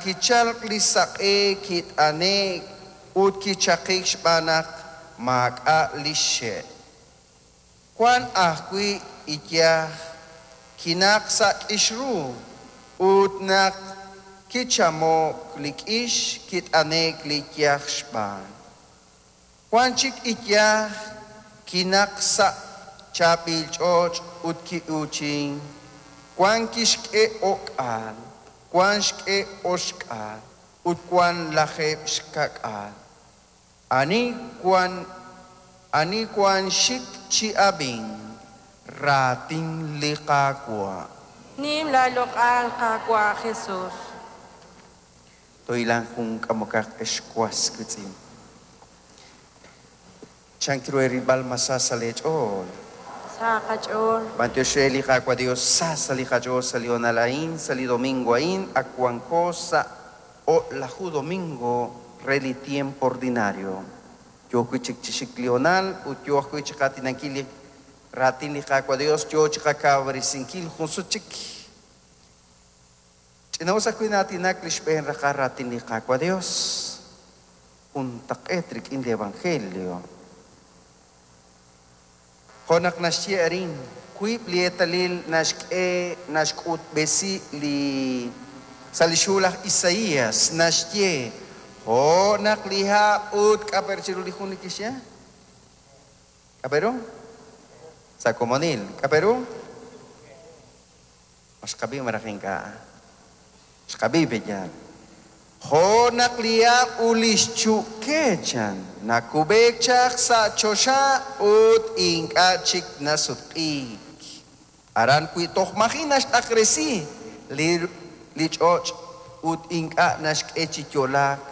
Naq kichalk li saq'e kit'ane'k ut kichaqik xb'aan naq maak'a' li xxe'. Wank ajwi' iyaj kinaq sa' k'ix ru, ut naq kichamo'k li k'ix kit'ane'k li iyaj xb'aan. Wank chik iyaj kinaq sa' chaab'il ch'och' ut ki'uuchink, wank kixk'e o'k'aal, wank xk'e oxk'aal ut wank lajeeb' xka'k'aal. Ani wank ani wank xik chi ab'ink, raatin li Qaawa'. Nim laaloq'al, Qaawa' Jesus. Tohilan jun k'amokaq ex was wiitz'in. Chank ru eerilb'al ma sa sa' leech'ool? Sa qach'ool. B'antiox re li Qaawa' Dios, sa sa' li qach'ool sa' li honal a'in, sa' li domingo a'in, ak wanko sa' o'laju domingo re li tiempo ordinario. Yoo wi' chik chi xik li honal ut yoo ajwi' chi qaatinankil li raatin li Qaawa' Dios, yoo chi qakawresinkil jun sut chik. Ch'ina'us ajwi' na'aatinak li xb'een raqal raatin li Qaawa' Dios. Juntaq'eet rik'in li evangelio. Jo' naq naxye arin, wiib' li eetalil naxk'e naxk'utb'esi li sa' li xhu laj Isaías naxye, Jo' naq li hab' ut k'a' pe chiru li jun li kixye? K'a' pe ru? Sa' komonil. K'a' pe ru? Ma xqab'i malaj ink'a'? Xqab'i pe yaal. Jo' naq li hab' ut li xchu'ke chan, nakub'eek chaq sa' choxa ut ink'a' chik nasutq'iik. Aran wi toj maji' naxt'aqresi li li ch'och' ut ink'a' naxk'e chi yo'laak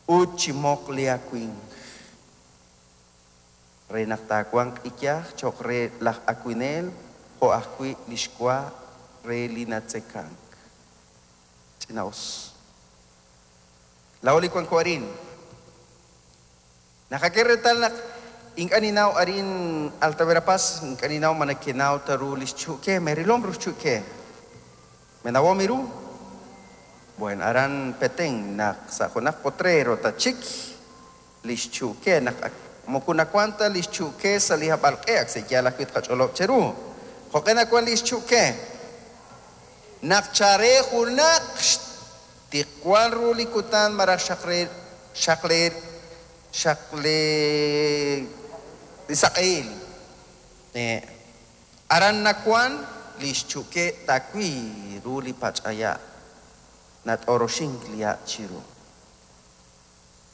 ut chi moq li awimq. Re naq taawanq iyaj cho'q re laj awinel jo' ajwi' li xwa re li natzekank. Ch'ina'us. Laa'o li wanko arin. Naqak'e reetal naq ink'a' ninnaw arin Alta Verapaz, ink'a' ninnaw ma nekenaw ta ru li xchu'ke, meerilom ru xchu'ke. Menawom ru? Bueno, aran Petén naq sa' junaq potrero tachik li xchu'ke naq ak moko nawank ta li xchu'ke sa' li hab'alq'e ak sa' yaal ajwi' tqach'olob' cheru. Jo'q'e nawank li xchu'ke? Naq chare junaq xtiqwal ru li kutan malaj xaqre xaqle xaqle li saq'ehil. Aran nawank li xchu'ke tawi ru li pach'aya' nat'oroxink li ha' chiru.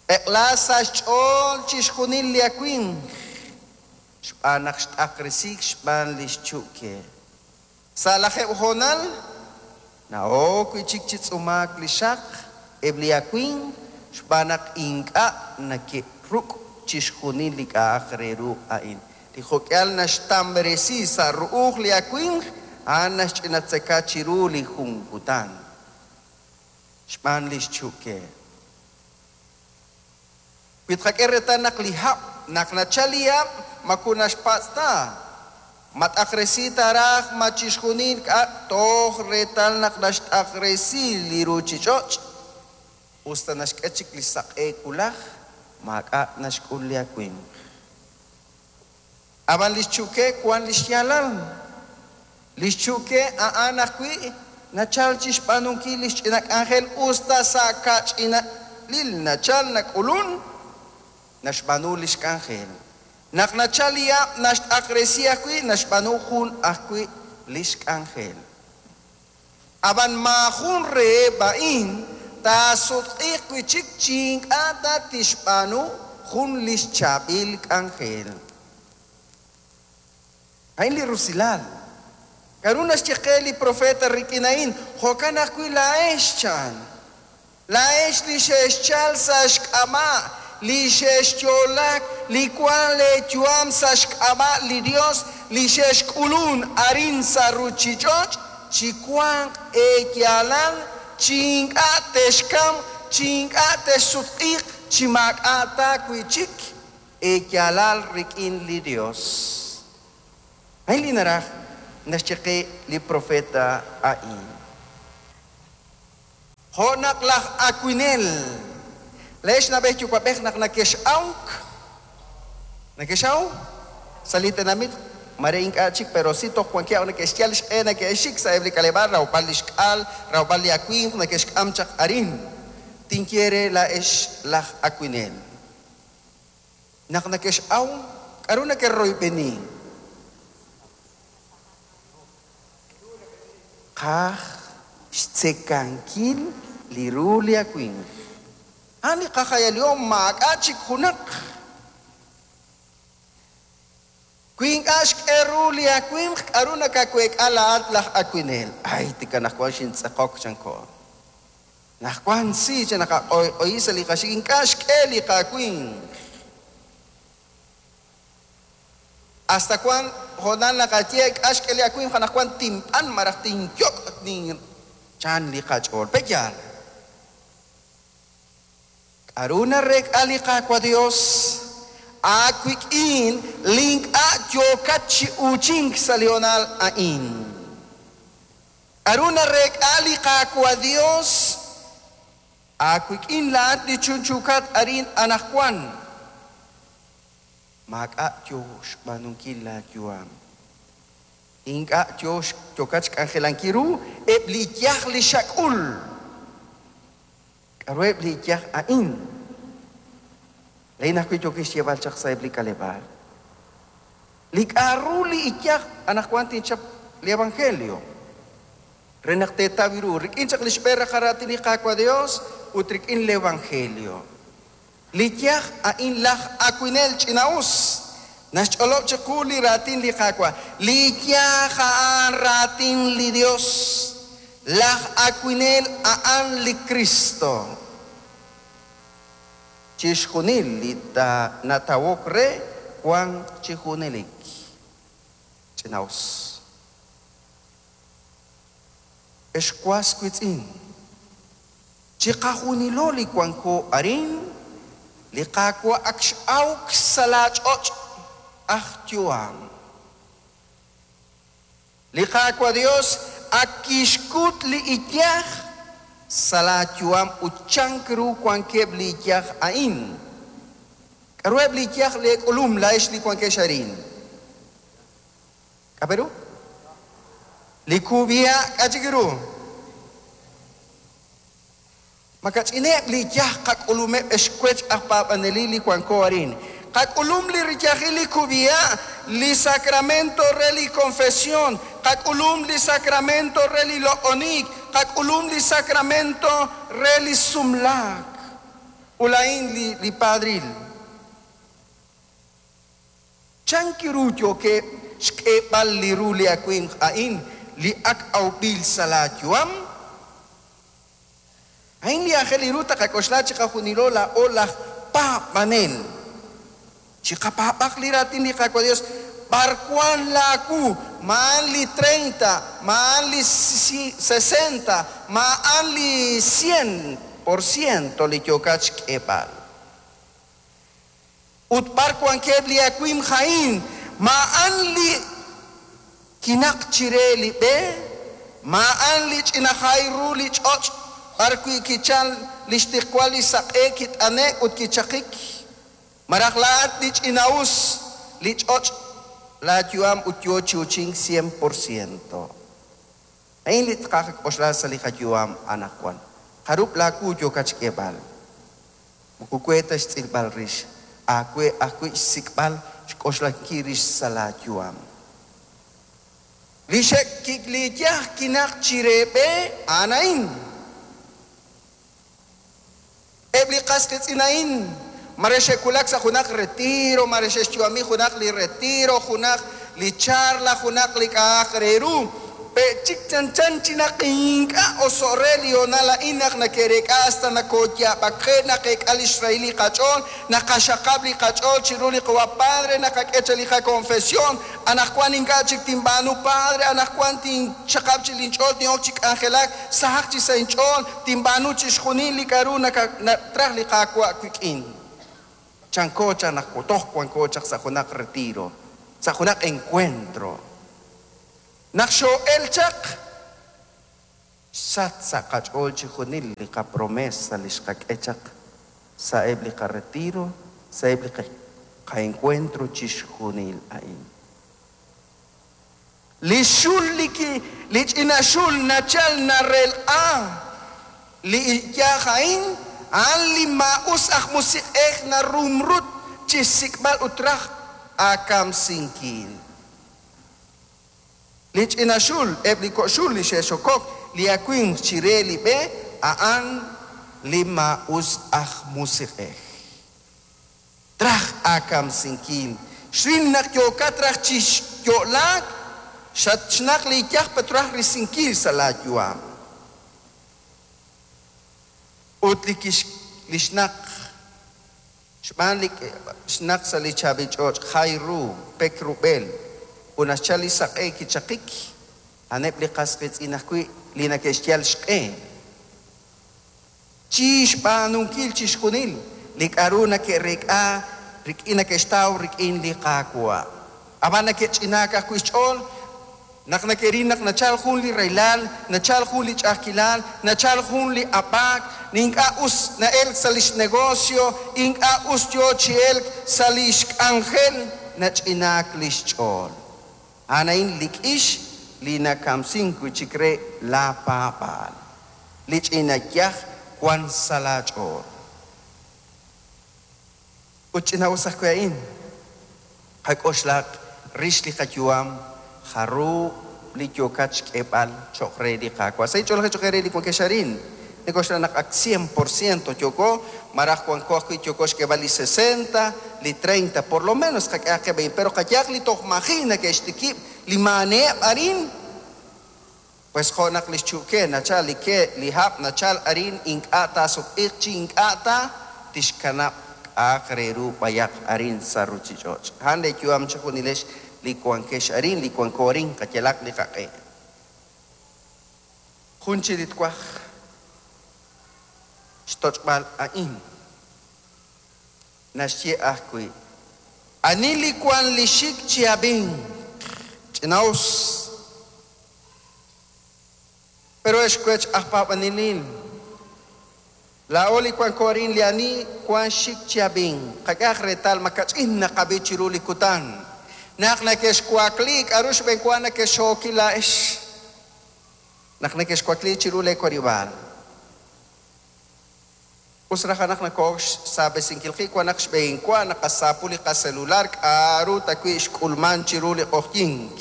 Eq'la sa' xch'ool chixjunil li awimq, xb'aan naq xt'aqresiik xb'aan li xchu'ke. Sa' lajeeb' hoonal, na'ok wi' chik chi tz'umaak li xaq eb' li awimq xb'aan naq ink'a' nake'ruk' chixjunil li k'a'aq re ru a'in. Li jo'k'ihal naxtamb'resi sa' ru'uj li awimq, a'an naxch'inatzeka chiru li jun kutan. Xb'aan li xchu'ke. Wi tqak'e reetal naq li hab', naq nachal li hab', moko naxpatz' ta, ma t'aqresi ta raj ma chixjunil k'a' toj reetal naq naxt'aqresi li ruuchich'och', us ta naxk'e chik li saq'e wulaj, maak'a' naxk'ul li awimq. Ab'an li xchu'ke wank li xyaalal. Li xchu'ke a'an ajwi' nachalk chi xb'aanunkil li xch'ina k'anjel us ta sa' kach'inalil nachalk nak'ulunk, naxb'aanu li xk'anjel. Naq nachalk li hab' naxt'aqresi ajwi' naxb'aanu jun ajwi' li xk'anjel. Ab'an maajun reheb' a'in taasutq'iiq wi' chik chi ink'a' ta tixb'aanu jun li xchaab'il k'anjel. A'in li rusilal. K'aru naxye qe li propeet rik'in a'in? Jo'kan ajwi' laa'ex, chan. Laa'ex li xe'xchal sa' xk'ab'a' li xe'xyo'laak, li wank leeyu'am sa' xk'ab'a' li Yos, li xe'xk'ulunk arin sa' ruuchich'och', chiwanq eeyaalal chi ink'a' texkamq, chi ink'a' texsutq'iiq, chi maak'a' ta wi' chik eeyaalal rik'in li Yos. A'in li naraj naxye qe li propeet a'in. Jo' naq laj awinel, laa'ex na'b'ej yuwa'b'ej naq nakex'awk, nakex'aw sa' li tenamit, mare ink'a' chik, pero si toj wankeb' neke'xyal xq'e neke'xik sa'eb' li k'aleb'aal rawb'al li xk'al, rawb'al li awimq neke'xk'am chaq arin. Tinye re laa'ex laj awinel. Naq nakex'aw, k'a'ru neke'royb'eni? Qaj xtzekankil li ru li awimq. A'an li qajayalihom maak'a' chik junaq. Wi ink'a' xk'e ru li awimq, k'a'ru nakaweek'a laa'at laj awinel? Ay, tik anaqwan xintz'eqok, chanko. Naqwan si chi naqaq'oyq'oyi sa' li qaxik ink'a' xk'e li qawinq. Hasta wan hoonal naqaye k'a' xk'e li awimq anaqwan tinb'an malaj tinyok' nin chan li qach'ool. Pe' yaal? K'a'ru nareek'a li Qaawa' Dios aawik'in li ink'a' yookat chi uuchink sa' li hoonal a'in? K'a'ru nareek'a li Qaawa' Dios aawik'in laa'at li chunchuukat arin anaqwan? Maak'a' yoo xb'aanunkil laa yu'am. Ink'a' yoo yookat xk'anjelankil ru eb' li iyaj li xak'ul. K'a'ruheb' li iyaj a'in? Laa'in ajwi' yookin xyeeb'al chaq sa'eb' li k'aleb'aal. Li k'a'ru li iyaj anaqwan tinchap li evangelio re naq teetaw ru rik'in chaq li xb'een raqal raatin li Qaawa' Dios ut rik'in li evangelio. Li iyaj a'in laj awinel ch'ina-us naxch'olob' chiqu li raatin li Qaawa'. Li iyaj a'an raatin li Dios. Laj awinel a'an li Kristo. Chixjunil li natawok re wank chi junelik. Ch'ina-us. Ex was wiitz'in, chiqajunilo li wanko arin, li Qaawa' ak x'awk sa' laa ch'och' aj yu'am. Li Qaawa' Dios ak kixkut li iyaj sa' laa yu'am ut chank ru wankeb' li iyaj a'in. K'a'ruheb' li iyaj lee k'ulum laa'ex li wankex arin? K'a' pe ru? Li kub'iha' k'a' chik ru? Makach'ineb' li iyaj qak'ulumeb' ex wech aj paab'anelil li wanko arin. Qak'ulum li riyajil li kub'iha', li sacramento re li confesión, qak'ulum li sacramento re li loq'oniik, qak'ulum li sacramento re li sumlaak. Ut laa'in li li padril. Chank ru yookeb' xk'eeb'al li ru li awimq a'in li ak awb'il sa' laa yu'am? A'in li aajel ru taqak'oxla chiqajunilo laa'o laj paab'anel. Chiqapaab'aq li raatin li Qaawa' Dios, B'ar wan laa wu? Ma a'an li treinta? Ma a'an li sesenta? Ma a'an li cien por ciento li yookat xk'eeb'al? Ut b'ar wankeb' li awimq a'in? Ma a'an li kinaq chire li b'e? Ma a'an li ch'ina jay ru li ch'och' b'ar wi' kichal li xtiqwal li saq'e kit'ane'k ut kichaqik? Malaj laa'at li ch'ina'us li ch'och' laayu'am ut yoo chi uuchink cien por ciento? A'in li tqak'oxla sa' li qayu'am anaqwan. Jarub' laawu yookat xk'eeb'al? Moko we ta xtz'ilb'al rix, aawe ajwi' xsik'b'al xk'oxlankil rix sa' laayu'am. Li xe'kik li iyaj kinaq chire b'e a'an a'in. Eb' li qas qiitz'in a'in mare xe'wulak sa' junaq retiro, mare xe'xyu'ami junaq li retiro, junaq li charla, junaq li k'a'aq re ru. Pe' chik chanchan chi naq ink'a' oso'k re li hoonal a'in naq nake'reek'a hasta nakooyaab'akje', naqeek'a li xrahil li qach'ool, naqaxaqab' li qach'ool chiru li Qawa' Padre, naqak'e chaq li qakonfesión, Anaqwan ink'a' chik tinb'aanu Padre, anaqwan tinxaqab' chik linch'ool, tin'ok chi k'anjelak, sahaq chik sa' inch'ool, tinb'aanu chixjunil li k'a'ru nakatraj li Qaawa' wik'in. Chanko chaq naq toj wanko chaq sa' junaq retiro, sa' junaq encuentro. Naq xoo'el chaq, Xsach sa' qach'ool chixjunil li qapromesa li xqak'e chaq sa'eb' li qaretiro, sa'eb' li qaencuentro chixjunil a'in. Li xul li ki li ch'ina xul nachal narelq'a li iyaj a'in, a'an li maa'us aj musiq'ej narumrut chi xsik'b'al ut raj aakamsinkil. Li ch'ina xul, eb' li kok' xul li xe'xokok li awimq chire li b'e, a'an li maa'us aj musiq'ej. Traj aakamsinkil. Xril naq yookat raj chi xyo'laak, xatxnaq li iyaj petraj risinkil sa' laayu'am. Ut li kix li xnaq xb'aan li xnaq sa' li chaab'il ch'och' jay ru, pek rub'el, ut naxchal li saq'e kichaqik, a'aneb' li qas qiitz'in ajwi' li neke'xyal xq'e chi xb'aanunkil chixjunil li k'a'ru neke'reek'a rik'in neke'xtaw rik'in li Qaawa'. Ab'an neke'ch'inaak ajwi' xch'ool naq neke'ril naq nachal jun li rahilal, nachal jun li ch'a'ajkilal, nachal jun li ab'aak, li ink'a' us na'elk sa' li xnegocio, ink'a' us yo chi elk sa' li xk'anjel, nach'inaak li xch'ool. A'an a'in li k'ix li nakamsink wi' chik re laapaab'aal. Li ch'ina yaj wank sa' laach'ool. Ut ch'ina'us ajwi' a'in, qak'oxlaq rix li qayu'am jarub' li yookat xk'eeb'al cho'q re li Qaawa'. Sa' inch'oolej cho'q eere li wankex arin, nink'oxla naq ak cien por ciento yooko, malaj wanko ajwi' yooko xk'eeb'al li sesenta, li treinta, por lo menos qak'ehaq qib' a'in. Pero qayehaq li toj maji' neke'xtikib' li maaneheb' arin, pues jo' naq li xchu'ke nachal li ke, li hab' nachal arin ink'a' taasutq'iiq chi ink'a' ta tixkanab' k'a'aq re ru b'ayaq arin sa' ruuchich'och'. A'an leeyu'am chejunilex li wankex arin, li wanko arin, qayalaq li qaq'e. Jun chi li twaj xtoch'b'al a'in. Naxye ajwi', Ani li wank li xik chi ab'ink, ch'ina'us. Pero ex wech aj paab'anelil, laa'o li wanko arin li ani wank xik chi ab'ink, qak'ehaq reetal ma kach'in naqab'i chiru li kutan. Naq nekexwakli, k'a'ru xb'eenwa nekexxookil laa'ex? Naq nekexwakli chiru lee warib'aal. Us raj naq noko'ok xsaab'esinkil qib' wan naq xb'eenwa naqasaapu li qaselular k'a'ru ta wi' xk'ulman chiru li q'oqyink.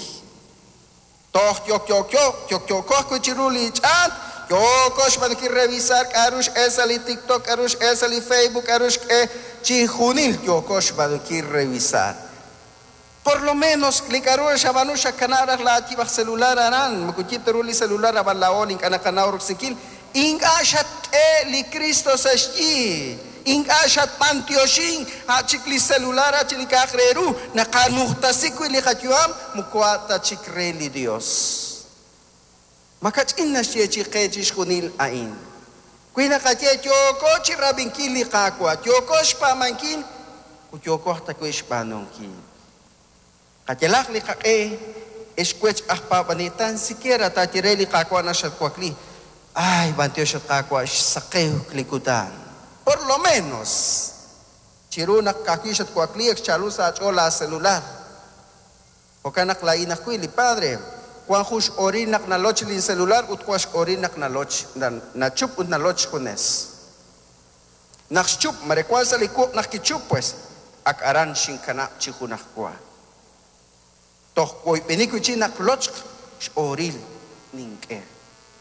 Toj yokyookyo, yokyooko ajwi' chiru li ch'aat, yooko xb'aanunkil revisar k'a'ru x'el sa' li TikTok, k'a'ru x'el sa' li Facebook, k'a'ru xk'e, chijunil yooko xb'aanunkil revisar. Por lo menos li k'a'ru xab'aanu xakanab' raj laayib' aj celular aran, moko yib' ta ru li celular ab'an laa'o li ink'a' naqanaw roksinkil, ink'a' xatk'e li Kristo sa' xyi, ink'a' xatb'antioxin, a' chik li celular a' chik li k'a'aq re ru naqanujtasi wi' li qayu'am moko a' ta chik re li Dios. Makach'in naxyeechi'i qe chixjunil a'in. Wi naqaye yooko chi rab'inkil li Qaawa', yooko xpaab'ankil ut yooko aj tawi' xb'aanunkil. Qayalaq li qaq'e, ex wech aj paab'anel, tan siquiera taaye re li Qaawa' naq xatwakli, Ay, b'antiox at Qaawa' xsaqewk li kutan. Por lo menos! Chiru naq ka'ajwi' xatwakli ak xchaalu sa' aach'ool laaselular. Jo'kan naq laa'in ajwi', li padre, wan jun x'oril naq naloch lin celular ut wan x'oril naq naloch, nachup ut naloch xjunes. Naq xchup, mare wan sa' li wuq' naq kichup, pues, ak aran xinkanab' chi junajwa. Toj woyb'eni wi' chik naq lochq x'oril nink'e.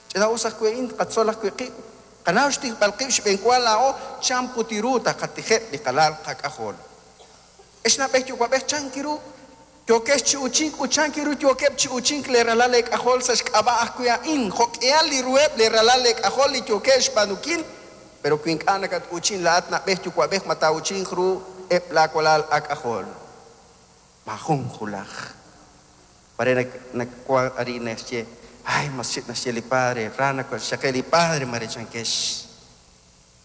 Ch'ina'us ajwi' a'in, tqatzol ajwi' qib', qanaw xtijb'al qib' xb'eenwa laa'o chan put ru taqatijeb' li qalal qak'ajol. Ex na'b'ej yuwa'b'ej, chank ru yookex chi uuchink ut chank ru yookeb' chi uuchink leeralal eek'ajol sa' xk'ab'a' ajwi' a'in, jo'k'ihal li ruheb' leeralal eek'ajol li yookeb' xb'aanunkil? Pero wi ink'a' nakat-uuchin laa'at na'b'ej yuwa'b'ej ma taa'uuchinq ru eb' laawalal aak'ajol? Maajun hulaj. Mare nawank arin naxye, Ay, mas chik naxye li padre, ra naxaqe li padre, mare chankex.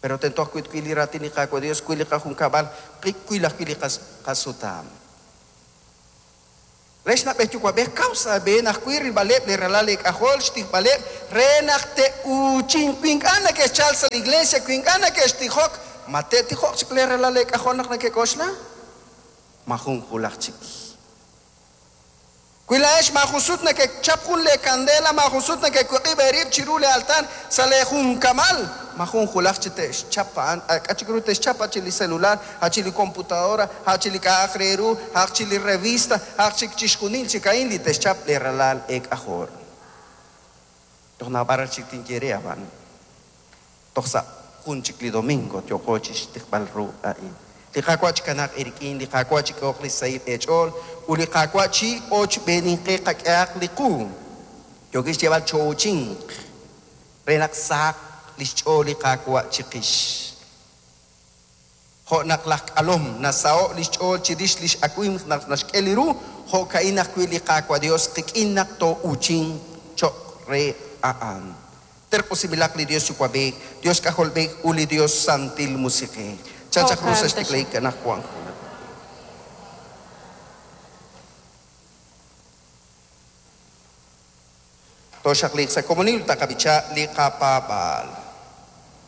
Pero tento ajwi' twil li raatin li Qaawa' Dios, twil li qajunkab'al, twil ajwi' li qasutam. Re xna'b'ej yuwa'b'ej kaw sa' aab'een ajwi' rilb'aleb' li ralal eek'ajol xtijb'aleb' re naq te'uuchinq. Wi ink'a' neke'xchal sa' li iglesia, wi ink'a' neke'xtijok, ma te'tijoq chik lee ralal eek'ajol naq neke'k'oxla? Majun wulaj chik. Wi laa'ex maajun sut nekechap jun lee kandela, maajun sut nekewiq'ib' eerib' chiru lee altar sa' lee junkamal, majun wulaj chi te'xchap a'an, k'a' chik ru te'xchap, a' chi li celular, a' chi li computadora, a' chi li k'a'aq re ru, a'aq chi li revista, a'aq chik chixjunil chik a'in li te'xchap lee ralal eek'ajol. Toj naab'al raj chik tinye re, ab'an toj sa' jun chik li domingo yooqo chixtiqb'al ru a'in. Li Qaawa' chikanaaq eerik'in, li Qaawa' chik'ehoq li sahil eech'ool, ut li Qaawa' chi ochb'eeninqe qak'ehaq li qu. Yookin xyeeb'al choo'uchinq re naq sahaq li xch'ool li Qaawa' chiqix. Jo' naq laj k'alom nasaho' li xch'ool chirix li x'awimq naq naxk'e li ru, jo'ka'in ajwi' li Qaawa' Dios qik'in naq too'uchinq cho'q re a'an. Terq'usinb'ilaq li Dios Yuwa'b'ej, Dios K'ajolb'ej ut li Dios Santil Musiq'ej. Chan chaq ru sa' xtiklajik anaqwan. Tooxaqliiq sa' komonil ut taqab'icha li qapaab'aal.